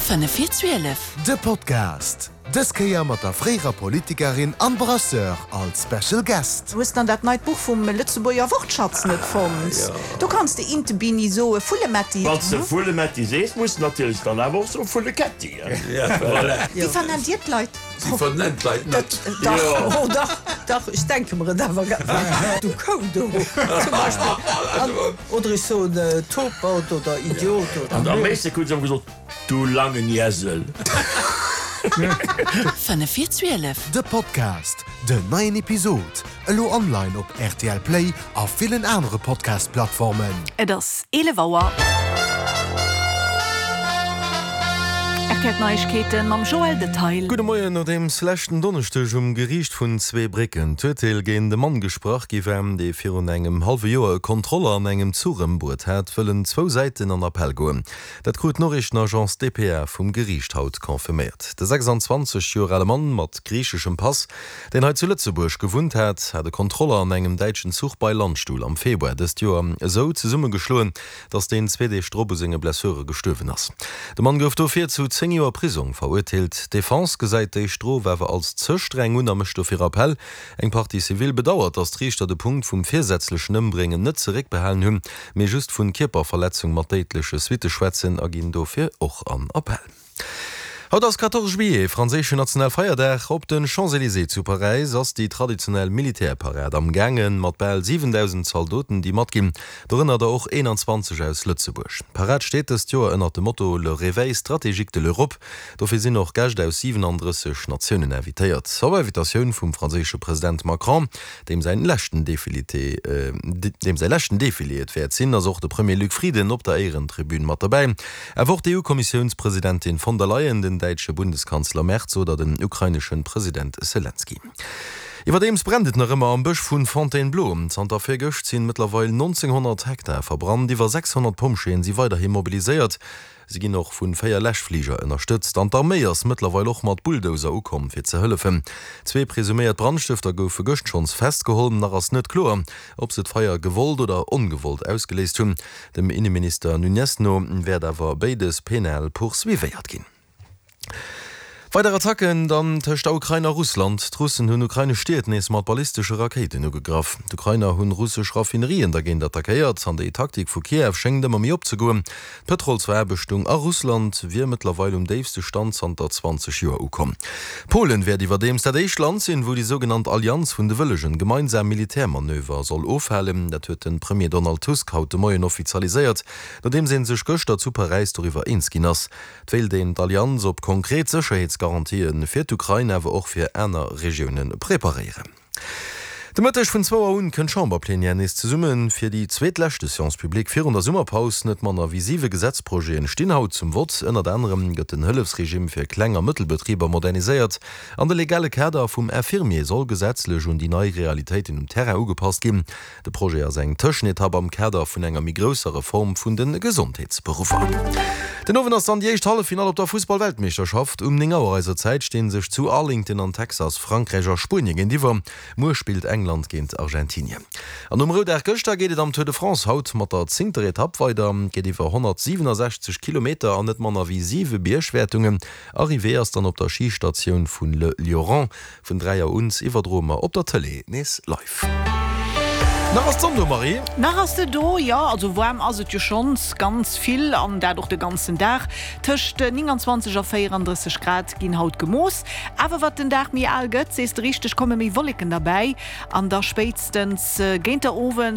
5 vir 12. De Podcast, dës Kéier mat der fréierer Politikerin an Brasseur als Special Guest. Hues dann dat neit Buch vum Lëtzebuerger Wortschatz net fonnt? Do kanns de Interbini soe, Vullemetti. Wann s de Vullemetti sees, muss de natierlech dann awer och soe Vulleketti. Wéi vernennt Dir d'Leit? Si vernennt d'Leit net. Dach, oh dach, dach, ech denke mer et awer. Du Kou do, zum Beispill. Oder ech soen Topert oder Idiot oder. An am meeschte krut se ëmmer gesot, Du langen Iesel. 5 vir 12. De Podcast, Den neien Episod elo online op rtl Play a villen anere Podcast-Plattformen. Et ass 11 Auer. Rtl Neiegkeeten mam Joël Detail. Gudde Moien. Nodeems leschten Donneschdeg um Geriicht vun Zweebrécken d'Urteel géint e Mann gesprach gi war, dee virun engem hallwe Joer e Kontroller an engem Zuch ëmbruet hat, wëllen zwou Säiten an Appell goen. Dat krut d'Noriichtenagence dpa vum Geriicht haut confirméiert. De 26 Joer ale Mann mat griicheschem Pass, deen hei zu Lëtzebuerg gewunnt hat, hat e Kontroller an engem däitschen Zuch bei Landstuhl am Februar dëst Joer esou zesummegeschloen, datt deen zwee Deeg drop u senge Blessure gestuerwen ass. De Mann gouf dofir zu 10 Joer Prisong verurteelt. D'Defense gesäit déi Strof awer als ze streng un a mécht dofir Appell. Eng Partie civile bedauert, datt d'Riichter de Punkt vum virsätzlechen Ëmbréngen net zeréckbehalen hunn, mee just vun Kierperverletzung mat déidleche Suitte schwätzen a ginn dofir och an Appell. Haut ass 14 Juillet, franséischen Nationalfeierdag. Op den Champs-Elysées zu Paräis ass déi traditionell Militärparad am gaangen, mat bal 7.000 Zaldoten déi matginn, dorënner der och 21 aus Lëtzebuerg. D'Parad steet dëst Joer ënnert dem Motto Le réveil stratégique de l'Europe. Dofir sinn och Gäscht aus 37 Natiounen invitéiert. Op Invitatioun vum franséische President Macron, deem säin leschten Defilité, deem säi leschten Defilé et wäert sinn, ass och de Premier Luc Frieden op der Éierentribün mat derbäi. Awer och d'EU-Kommissiounspresidentin von der Leyen, den däitsche Bundeskanzler Merz oder den ukraineschen President Selenskyj. Iwwerdeems brennt et nach ëmmer am Bësch vu Fontainebleau. Zanter virgëscht sinn mëttlerweil 1.900 Hektar verbrannt. Iwwer 600 Pompjeeën si weiderhi mobiliséiert. Si ginn och vun 4 Läschfliger ënnerstëtzt an d'Arméi ass mëttlerweil och mat Bulldozer ukomm fir ze hëllefen. Zwee presuméiert Brandstëfter goufe gëscht schonns festgeholl. Nach ass net kloer, ob se d'Feier gewollt oder ongewollt ausgeléist hunn. Dem Inneminister Nuñez no wäert awer béides penal poursuivéiert ginn. Weider Attacken dann tëscht der Ukrain a Russland. D'Russen hunn ukrainesch Stied nees mat ballistesche Rakéiten ugegraff. D'Ukrainer hunn russesch Raffinerien dergéint attackéiert an déi Taktik vu Kiew schéngt ëmmer méi opzegoen. D'Pëtrolsveraarbechtung a Russland wier mëttlerweil um déifste Stand zanter 20 Joer ukomm. Polen wäert iwwerdeems dat éischt Land sinn, wou déi sougenannt Allianz vun de Wëllegen gemeinsam Militärmanöver soll ofhalen. Dat huet de Premier Donald Tusk haut de Moien offizialiséiert, nodeems ee sech gëschter zu Paräis doriwwer eens ginn ass. Et wéilt een d'Allianz op konkret Sécherheetsgarantië fir d'Ukrain, awer och fir aner Regioune preparéieren. De Mëtteg vun zwou Auer un kënnt d'Chamberplenière nees zesumme fir déi zweetleschte Séance publique virun der Summerpaus. Net manner wéi siwe Gesetzprojeten stinn haut zum Vott. Ënnert anerem gëtt den Hëllefsregime fir Kleng a Mëttelbetriber moderniséiert an de legale Kader vum Infirmier soll gesetzlech un déi nei Realitéiten um Terrain ugepasst ginn. De Projet ass eng Tëschenetapp am Kader vun enger méi grousser Reform vun de Gesondheetsberuffer. Den Owend ass dann déi éischt Halleffinall op der Fussball-Weltmeeschterschaft. Um 9 Auer eiser Zäit stinn sech zu Arlington an Texas Frankräich a Spuenie géintiwwer. Muer spillt England géint Argentinien. An nom Roudag gëschter geet et am Tour de France haut mat der zéngter Etapp weider. Et geet iwwer 167 Kilometer an net manner wéi siwe Biergwäertungen. Arrivée ass dann op der Schistatioun vun Le Lioran. Vun 3 Auer un iwwerdroe mer op der Tëlee nees live. Nach ass d'Sonn do, Marie? Nach ass se do, jo. Also waarm ass et jo schonns ganz vill an dat och de ganzen Dag. Tëscht 29 a 34 Grad ginn haut gemooss. Awer wat den Dag méi al gëtt, sees de richteg, komme méi Wolleken derbäi an da spéitstens géint der Owend.